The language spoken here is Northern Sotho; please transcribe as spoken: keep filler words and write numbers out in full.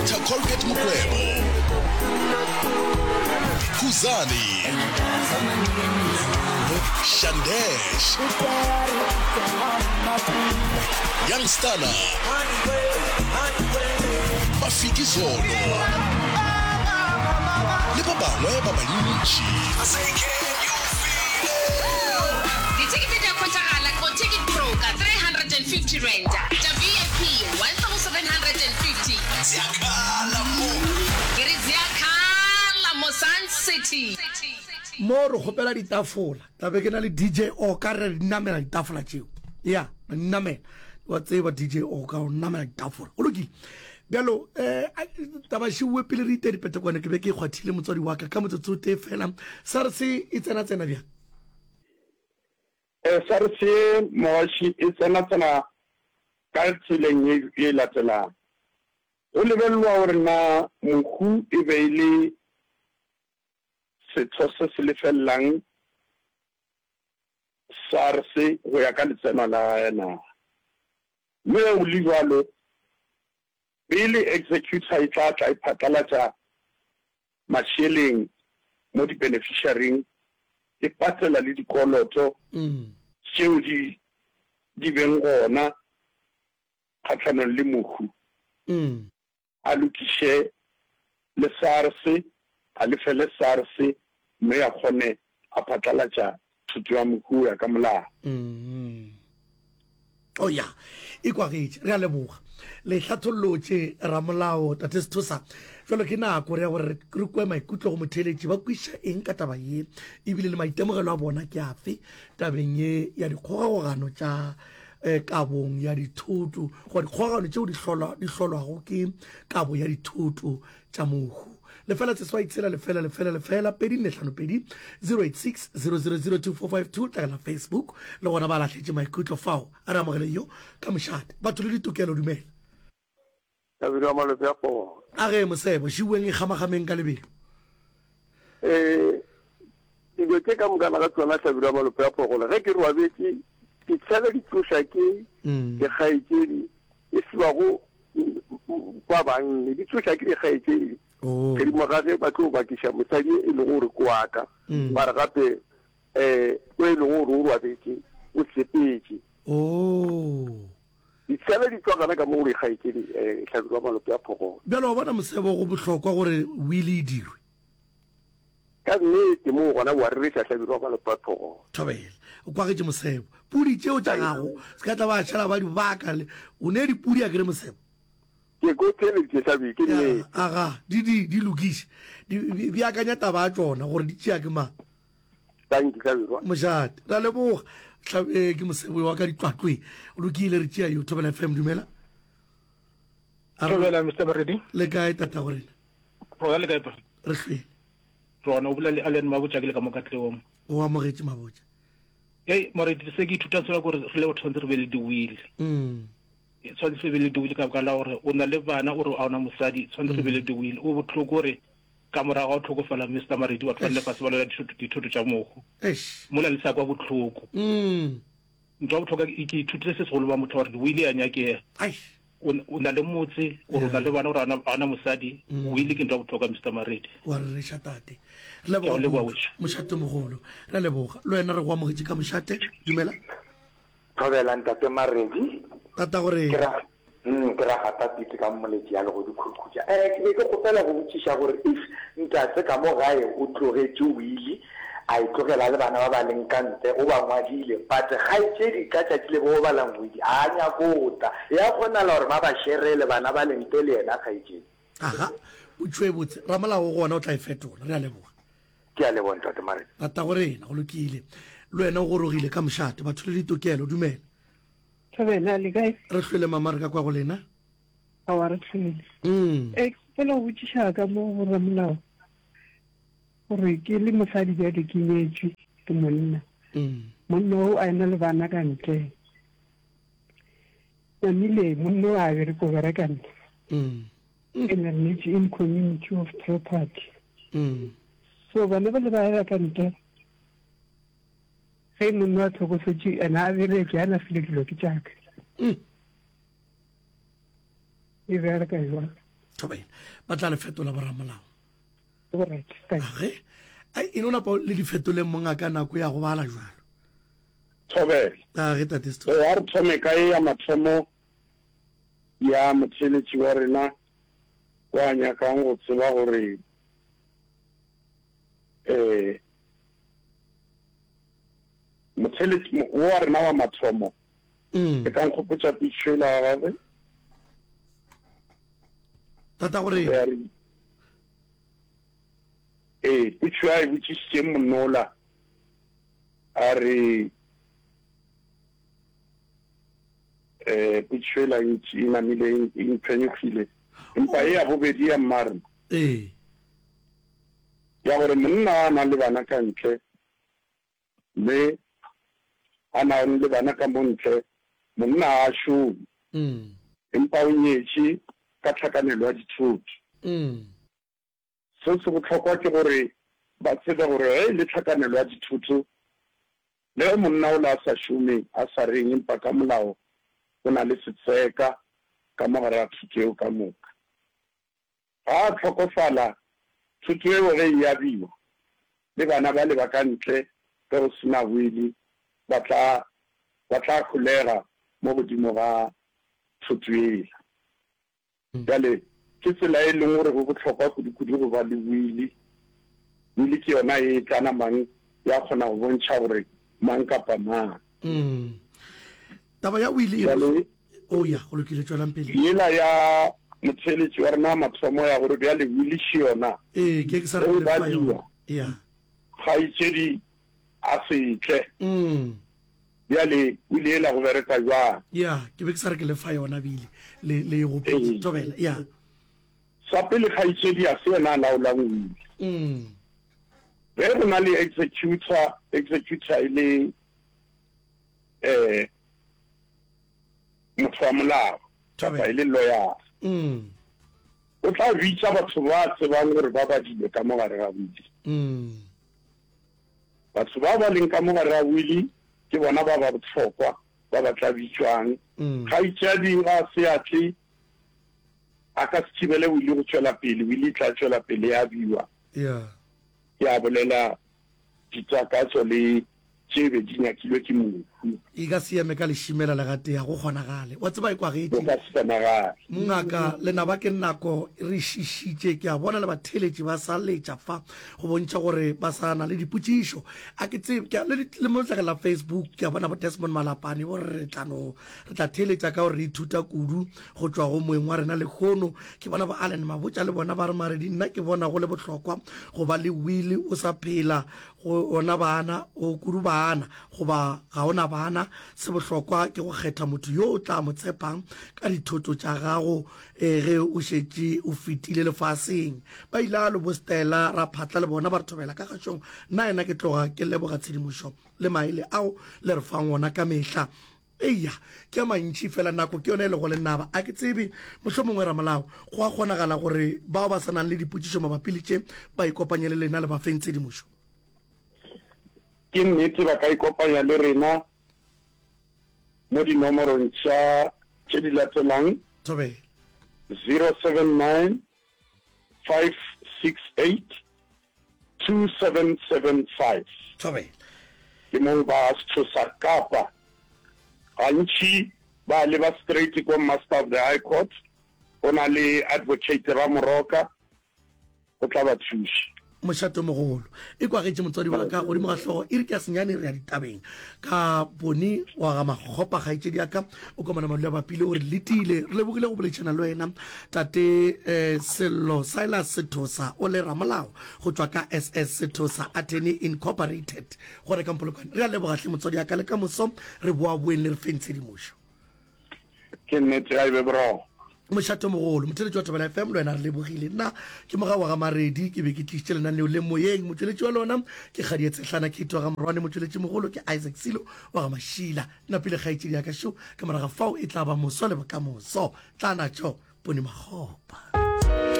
Doctor Colgate Mokwebo, Khuzani, Shandesh, Young Stunna, Mafikizolo le ba bangwe ba bantši. Dithekete di a hwetšagala go Ticket Pro ka three hundred and fifty rand, tša V I P one thousand hundred and fifty. Ziakhala mo. Ke re ziakhala mo Sun City. Mo re kgopela ditafola, tla be ke na le D J Oka, re di namela ditafola tšeo. Ya, re di namela. Wa tseba D J Oka o namela ditafola. Go lokile. Bjalo, um taba šiwe pele re ite dipetekwane, ke be ke kgwathile motswadi wa ka ka motsotso o tee fela. SARS e tsena tsena bjang? Eh, SARS ye mogaši e tsena tsena ka tseleng ye ye latelang. Go lebelelwa gore na mohu e be e le setho se se lefellang SARS go ya ka letseno la gagwe na. Mme ge go le bjalo, pele executor e tla tla e phatlalatša mašeleng mo di-beneficiaring, e patela le dikoloto tšeo di di beng gona kgahlanong le mohu, a lokiše le SARS, a lefele SARS, mme a kgone a phatlalatša thoto ya mohu go ya ka molao. O ya e kwagetše, re a leboga le hlathollotše ramolao tate Sethosa. Jalo ke nako re ya gore re kwe maikutlo go motheeletši, ba kwiša eng ka taba ye, ebile le maitemogelo a bona ke afe tabeng ye ya dikgogagogano tša eh, kabong ya dithoto, goba dikgogagano tšeo di hlolwa di hlolwago ke kabo ya dithoto tša mohu. Lefela seswai tshela lefela lefela lefela pedi nne hlano pedi, zero eight six zero zero zero two four five two. Tlagela Facebook le gona ba lahletše maikutlo fao. A re amogele yo ka mošate. Batho le ditokelo, dumela. Hlabirwa wa Malope a Kgogo. A ge mosebo šiweng e kgamagameng ka lebelo. Ee, dilo tše ka mokana ga tšona, Hlabirwa wa Malope a Phogolo, ge ke robetše ke tšhela di tloša ke dikgaetšedi e fiwago ba banne, di tloša ke dikgaetšedi godimo ga ge ba tlo bakiša mosadi e lego gore ke wa ka, ba re gape um o e lego gore o robetše o sepetše. Ditshele di tšwa gana ka mo go dikgaetšedi, um Hlabirwa wa Malope a Phogolo. Bjalo wa bona mosebo, go bohlokwa gore wili e dirwe. Ka nnete moo gona wa rereša, Hlabirwa wa Malope a Phogolo. Thobela, o kwagetše mosebo. Pudi tšeo tša gago se ka tla ba šala ba di baka le o ne dipudi a kere mosebo. Ke ko theeleditše, Hlabirwa, ke nnete. Aga, di di di lokiše. Di beakanya taba ya tšona gore di tšea ke mang. Thank you, Hlabirwa. Mošate, ra leboga. Ke mosebo wa ka ditlwatlwe. O lokile, re tšea yo. Thobela F M, dumela. Thobela Mister Baredi. Le kae tata go rena? Rona le kae pa? Re hlwele. Rona o bolela le Allen Mabotja ke le ka mo Katlehong. O amogetše Mabotja. Hey Moredi, se ke ithuta sona gore re le batho tshwanetse re be le di-will. Mm. Tshwanetse re be le di-will ka baka la gore o na le bana o re a ona mosadi, tshwanetse re be le di-will. O bohloko gore ka morago ga o tlhokofala Mister Maredi, batho ba nne fase ba lwela dithoto tša mohu. Eish. Mola le sa kwa bohloko. Mm. Ntho ya bohlokwa ke ithutile se segolo ba motho gore di-will ya nyakega. Eish. O na le motse, gore o na le bana, gore a ona mosadi, will ke ntho ya bohlokwa Mister Maredi. Wa rereša tate. Re leboga kudu mošate mogolo. Re leboga. Le wena re go amogetše ka mošate. Dumela. Thobela ntate Maredi. Tata gore. Ke ra mm, ke ra gata pete ka moletši ya legodu khukhutša. Eh, ke be ke kgopela go botšiša gore if ntate ka mo gae o tlogetše wili, a e tlogela le bana ba ba leng ka ntle, o ba ngwadile, but kgaetšedi ka tšatši le bo balang wili a nyakota, ya kgonala gore ba ba sherele bana ba leng ntle le yena kgaetšedi? Aga, potšo e botse. Ramolao gona o tla e fetola. Re a leboga. Ke a leboga ntate Maredi. Tata go rena, go lokile. Le wena o gorogile ka mošate. Batho le ditokelo, dumela. Thobela, le kae? Re hlwele mama, re ka kwa go lena. Aowa, re hlwele. Mm. E, ke kgopela go botšiša ka mo go ramolao gore ke le mosadi bjale ke nyetšwe ke monna. Mm. Monna o a ena le bana ka ntle. Namile monna o a bereka, o bereka nna. Mm. And re nyetše in community of property. Mm. So bana ba le ba ya ka ntle. Ge monna a tlhokofetše, ena a bereke, a na file dilo ke tšaka. Mm. E bereka jwang? Thobela. Ba tla le fetola boramolao. Alright, thanks. Age, ai e no napa le di fetoleng mongaka nako ya go bala jwalo. Thobela. Age tate Sethosa. Ee, a re thome ka ye ya mathomo ya motheeletši wa rena wa nyakang go tseba gore um motheeletši wo wa rena wa mathomo Mm. e ka nkgopotša pitšo yela ya gagwe. Tata gore Ya re ee, potšo a e botšišitšeng monola a re um potšo ela e e namile e mphenyogile empa e ya bobedi ya mmarena ee ya gore monna a nang le bana ka ntle mme a nang le bana ka mo ntle monna a a šome mm. empa o nyetše ka tlhakanelo ya dithoto. Mm. Se se bohlokwa ke gore ba tsebe gore ge e le tlhakanelo ya dithoto, le ge monna ola a sa šome, a sa reng, empa ka molao o na le setseka ka mo gare ga thoto eo ka moka. Ga a hlokofala, thoto eo ge e abiwa, le bana bale ba ka ntle ge go se na wili ba tla, ba tla holega mo godimo ga thoto yela. Bjale, ke tsela e leng gore go bohlokwa kudu-kudu go ba le wili. Wili ke yona e e tla namang ya kgona go bontšha gore mang kapa mang. Mm. Taba ya wili e Bjale, o ya go lokile, tšwelang pele. Yela ya motheeletši wa rena wa mathomo ya gore bjale wili še yona, Ee, ke ke sa ge re e ke le fa badiwa, yona. Ya. kgaetšedi a se tle. Mm. Bjale wili yela go bereka bjang? Ya, ke be ke sa re ke le fa yona bile le le e gopotse. Ee. Thobela, ya. Sa pele kgaetšedi a se yena a laolang wili. Mm. Ge go na le executor, executor e le eh motho wa molao kapa e le lawyer. Mm. O tla bitša batho ba tsebang gore ba badilwe ka mo gare ga wili. Mm. Batho ba ba leng ka mo gare ga wili ke bona ba ba bohlokwa ba ba tla bitšwang. Mm. Kgaetšadi ga se a tle, a ka se thibele wili go tšwela pele, wili e tla tšwela pele ya biwa. Yeah. Ya bolela ditakatso le tše be di nyakilwe ke mohu. E ka se eme ka lešimela le gatee, ga go kgonagale. Wa tseba e kwagetše. Go ka se kgonagale. Mongaka, lenaba ke nako re šišitše. Ke a bona le batheeletši ba sa letša fa go bontšha gore ba sa na le dipotšišo. A ke tsebe, ke a, le, le mo letlakeng la Facebook ke a bona bo Desmond Malapane bo re re tla no, re tla theeletša ka gore re ithuta kudu go tšwa go moeng wa rena lehono. Ke bona bo Allen Mabotja le bona ba re Maredi, nna ke bona go le bohlokwa go ba le wili o sa phela go ona bana, o kudu bana, goba ga ona bana. Se bohlokwa ke go kgetha motho yo o tla mo tshepang ka dithoto tša gago eh, ge o šetše o fetile lefaseng. Ba ile a lo bo Stella Raphatla le bona ba re thobela ka kgašong. Nna yena ke tloga ke leboga tshedimošo le maele ao le re fang ona ka mehla. Eya, ke a mantši fela nako ke yona e lego lenaba. A ke tsebe, mohlomongwe ramolao, go a kgonagala gore bao ba sa nang le dipotšišo mabapi le tše ba ikopanye le lena le ba feng tshedimošo. Ke nnete ba ka ikopanya le rena mo dinomorong tša tše di latelang. Thobela. zero seven nine five six eight two seven seven five. Thobela. Ke mo ba Sethosa kapa gantši ba leba straight ko Master of the High Court, go na le Advocate Ramoroka, go tla ba thuša. Mošate mogolo e kwagetše motswadi wa ka godimo ga hlogo e re ke ya senyane re ya ditabeng ka bone wa ga Makgopa kgaetšedi ya ka o komana madula bapile o re letile re lebogile go boletšana le wena tate eh, Sello Silas Sethosa o le ramolao go tšwa ka S S Sethosa Attorney Incorporated go reka Mpolokwane. Re a leboga hle motswadi ya ka le ka moso re boa boeng le re feng tshedimošo. Ke nnete ga e be boroko. Mošate mogolo motheletši wa Thobela F M le wena re lebogile. Nna ke moga wa ga Maredi, ke be ke tlišitše lenaneo le moyeng. Motšweletši wa lona ke Kgadie Tshehlana Kate wa ga Morwane, motšweletši mogolo ke Isaac Silo wa ga Mašila. Napile kgaetšedi ya ka šo, ka morago fao e tla ba moso le bokamoso. Tla natšo Pone Makgopa.